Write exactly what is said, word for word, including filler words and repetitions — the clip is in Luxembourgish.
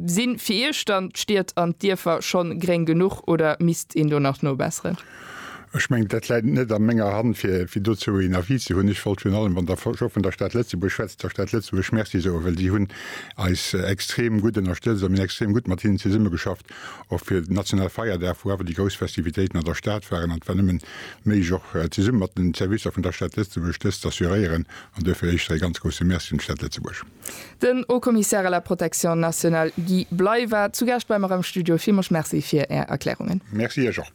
Sinn fir Iech dann d'Stied an d'Dierfer schonn gréng genuch oder misst een do nach nobesseren? Ech mengen, dat läit net a menger Hand, fir fir dozou een Avis ze hunn. Ech wollt virun allem, wann Der scho vun der Stad Lëtzebuerg schwätzt, der Stad Lëtzebuerg Merci soen, well si hunn eis extrem gutt ënnerstëtzt a mir hunn extrem gutt mat hinnen zesummegeschafft, och fir den nationale Feierdag, wou awer déi grouss Festivitéiten an der Stad waren. An et war nëmmen méiglech, och zesumme mat den Servicer vun der Stad Lëtzebuerg dëst z'assuréieren. An duerfir éischter ee ganz grousse Merci un d'Stad Lëtzebuerg. Den Haut-Commissaire à la protection nationale Guy Bley war zu Gaascht bei mer am Studio. Villmools Merci fir Är Erklärungen. Merci Iech och.